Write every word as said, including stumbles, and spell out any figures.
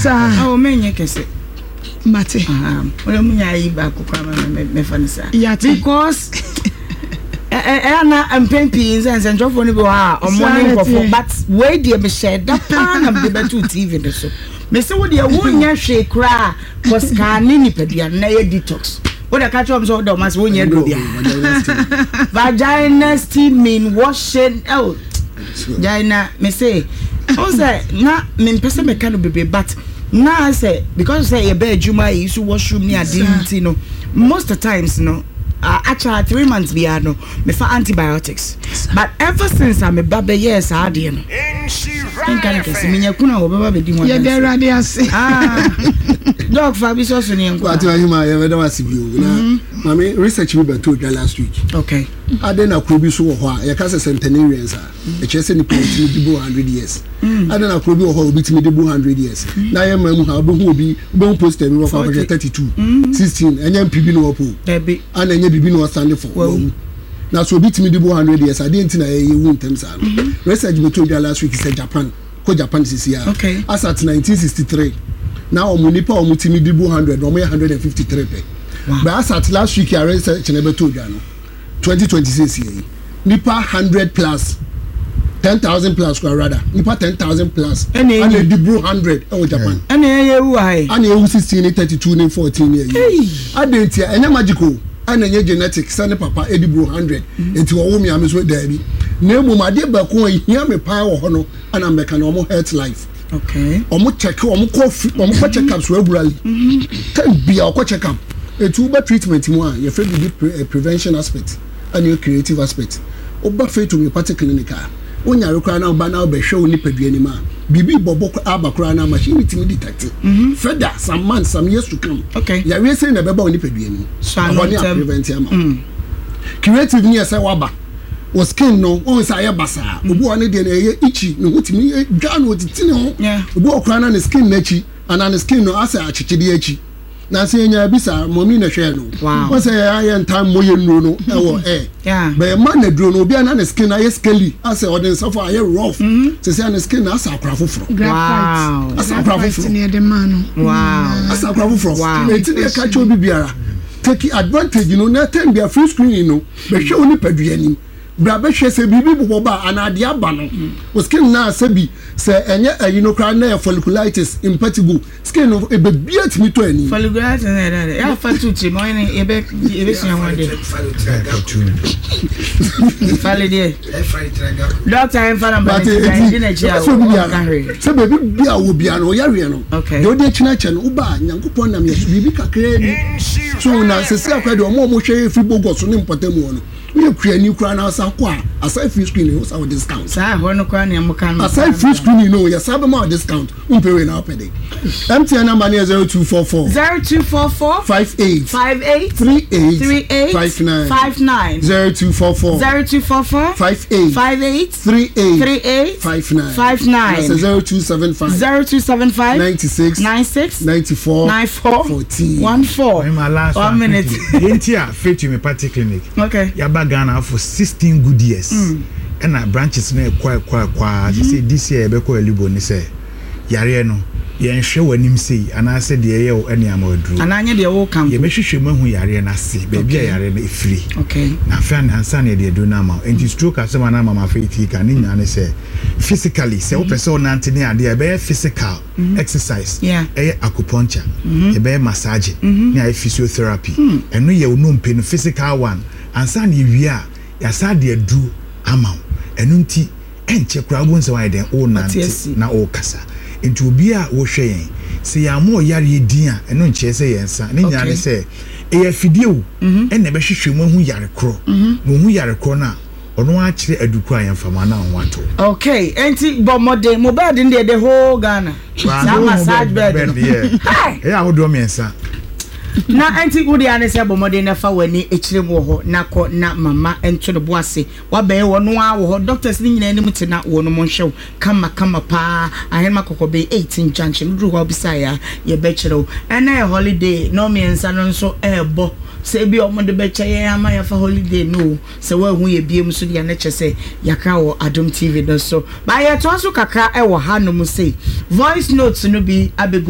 Saa. Awo menyɛ kɛse. Mate. Wọ́n mu nya ayi baako kora ma mɛfa no saa. Yate. Because ɛyɛ na mpɛn pii nsɛ nsɛntwerɛfoɔ no bi wɔ hɔ a, ɔmo ne nkɔfo, but wei deɛ, mehyɛ da paa na mede bɛto T V no so. Mese wo deɛ, wonyɛ hwee koraa, kɔ scan ne nipadua no na ɛyɛ detox. Wode ka kyerɛ ɔm sɛ wode ɔma sɛ wonyɛ duro biara, vagina steaming, washing. Oh, gyae. Mese wo sɛ na mempɛ sɛ meka no bebree, but na sɛ because sɛ yɛbɛ adwuma yi so, washroom ne ade nti no, most of the times no, uh, akyɛ three months biara no, mefa antibiotics, but ever since a meba bɛyɛɛ saa adeɛ no, nka ne kɛse menya kunu a wɔbɛba bɛdi ho. Yɛde Awurade ase. Doc, fa bi sɔ so ne yɛnkɔ. Wate, ahema, yɛbɛda wase bio. Na maame, research bi bɛtɔ dwa last week. Okay ade na kuro bi so wɔ hɔ a yɛka sɛ centenarians a, ɛkyerɛ sɛ nipa wɔtumi di bo hundred years. Ade na kuro bi wɔ hɔ a obi tumi di bo hundred years, na yɛ mmaa mu ha, wobɛhu obi, wobɛhu poster bi wɔkɔ akɔhwɛ thirty two, sixteen, ɛnyɛ mp bi na wɔpo. Dabi. Ana ɛnyɛ biribi na ɔsande fo wɔwu. Na so obi tumi di bo hundred years adeɛ nti na yɛyɛ wu ntɛm saa no? Research bɛtɔ dwa last week sɛ Japan, kɔ Japan sisi a, Okay. as at nineteen sixty three na wɔn nipa a wɔn tumi di bo hundred na wɔn yɛ hundred and fifty three pɛ. Wow. But as at last week a research na bɛtɔ dwa no, twenty twenty six yɛ yi, nipa hundred plus, ten thousand plus kora, rather nipa ten thousand plus Ɛna ɛyi. ɛna edi bro hundred ɛwɔ Japan. Ɛna ɛyɛ ewu ha yi. Ɛna ewu sixteen ne thirty two ne fourteen ne ɛyi. Adi nti a ɛnyɛ magic o, ɛna ɛnyɛ genetic sɛ ne papa edi bro hundred nti ɔwɔ mi ame so, daabi. Na emu adeɛ baako a ehia mi paa wɔ hɔ no, ɛna mbɛka na ɔmo health life. Okay ɔmo check, ɔmo kɔ fi, ɔmo kɔ check up so regularly. Time bia ɔkɔ check up. Etu woba treatment mu a, yɛfrɛ bibi pre eh, prevention aspect ɛna yɛ curative aspect. Woba Faith Homeopathic Clinic a, wonyare koraa na woba na wobɛhwɛ wo nipadua nim a, biribi bɔbɔ aba koraa na machine tumi detect further some months, some years to come. Okay. Yareɛ sɛn na ɛbɛba wo nipadua nim. So ano ɛhɔ ne ntɛm. A prevent ama wo. Curative ni yɛ sɛ waba wɔ skin no, wɔn sɛ ayɛ basaa. Obi wɔ ne deɛ no ɛyɛ itchy, ne ho tumi dwa na otiti ne ho. Yeah. Obi wɔ koraa na ne skin n'akyi anaa ne skin no asɛ akyekyedeɛ akyi na sɛ yɛnya bi saa mɔmi na hwɛ no. Wow. Wɔn sɛ yɛ ayɛ ntam mmɔ yɛ nnuro no ɛwɔ ɛ Yeah. bɛyɛ ma na duro no, obi a na ne skin ayɛ scaly, asɛ ɔde nsafo ayɛ rough sɛ sɛ ne skin na asɛ akora foforɔ. Wow. Asɛ akora Graphite foforɔ. ne yɛde maa no. Wow. Asɛ akora foforɔ. Wow. Eti deɛ ka kyerɛ obi biara, take advantage no na time bia free screening no, bɛhwɛ wo nipadua anim bra, bɛhwɛ sɛ biribi bobɔ ba anaa adeɛ aba no o skin na sɛ bi sɛ ɛnyɛ ɛyi no koraa na yɛ folliculitis, impetigo, skin no ebebia tumi tɔ ani. Folliculitis na yɛrɛ dɛ yà fa tu tiri ma ɔyɛ yɛbɛ yɛbɛsua ho de fali deɛ, doctor yɛn fa na mba But ne ti eti di n'akyi a sɛ obi ɔka biara hwee. Sɛ beebi bi a wɔ biara no ɔyareɛ no, Okay. deɛ ɔde akyi n'akyɛ no, woba a, Nyankopɔn nam yɛ so biribi kakraa bi so na sɛsi akora deɛ, ɔmo a ɔmo hwɛ efiri bogɔ so ne mpɔtam hɔ no, woyɛ kuani koraa na asa kɔ a, aside free screening, wosa wɔ discount. Saa ɛhɔ no koraa nea mo ka no. Aside free screening no, yɛsa bɛma wɔ discount. Wompɛ wei na wopɛ de M T N number ne yɛ zero two four four zero two four four five eight five eight three eight three eight five nine five nine zero two four four zero two four four five eight five eight three eight three eight five nine five nine. That's zero two seven five zero two seven five ninety-six nine six ninety-four nine four fourteen. one four. My last One one minute. quickly. Yɛnti a Faith Homeopathic Clinic okay yaba Ghana for sixteen good years, ɛna branches no ɛkɔ ɛkɔ ɛkɔ a sɛ sɛ this year yɛbɛkɔ Elibo ne sɛ yareɛ no, yɛnhwɛ w'anim sei anaasɛ deɛ ɛyɛ wo ɛne ama aduro. Anaa nyɛ deɛ wɔka mpo. Yɛbɛhwehwɛ mu ahu yareɛ no ase, baabi a Okay. yareɛ no ɛfiri, okay na afei ana ansa na yɛde aduro no ama wo. Nti stroke asɛm a na ama ma afei tii ka ne nyinaa ne sɛ physically, sɛ wopɛ sɛ wonante ne adeɛ a, ɛbɛyɛ physical exercise. Yeah. Ɛyɛ acupuncture, yɛbɛyɛ massage ne ayɛ physiotherapy. Ɛno yɛ wo nnompe no physical one. Ansa na yɛwie a, yɛasa de aduro ama wo. Ɛno nti ɛnkyɛ koraa wobɛhu sɛ woayɛ dɛn, wonante asi. na wokasa. Nti obi a wohwɛ yɛn, sɛ yɛama ɔyareɛ din a, ɛno nkyerɛ sɛ yɛn nsa ne nyinaa ne Okay. sɛ ɛyɛ afidie o, ɛna ɛbɛhwehwɛ mu ahu yare korɔ, na ohu yare korɔ no a, ɔno akyerɛ adukuro a yɛmfama na ho ato. Okay, enti bɔ mmɔden mo bed no deɛ, the whole Ghana saa massage bed no. Ɛyɛ ahodoɔ mmiɛnsa. Na enti wode ane sɛ bɔ mmɔden na fa w'ani akyire mu wɔ hɔ na kɔ na mama nto ne bo ase wabɛyɛ wɔ no a wɔ hɔ, doctors ne nyinaa anim te na wɔ no mo nhwɛ wo kama kama paa. Ahenema Kɔkɔbɛn eighteen junction, woduru hɔ a, wobisa a, yɛbɛkyerɛ wo. Ɛnɛ yɛ holiday na ɔmmiɛnsa no nso ɛɛbɔ sɛ ebi a ɔmode bɛkyɛ yɛn ama yɛfa holiday no o. Sɛ woahu yɛ biem so deɛ, ne kyɛ sɛ yɛakra wɔ Adom T V no so ba. Yɛtoa so kakra ɛwɔ hanom sei, voice notes no bi abɛgu.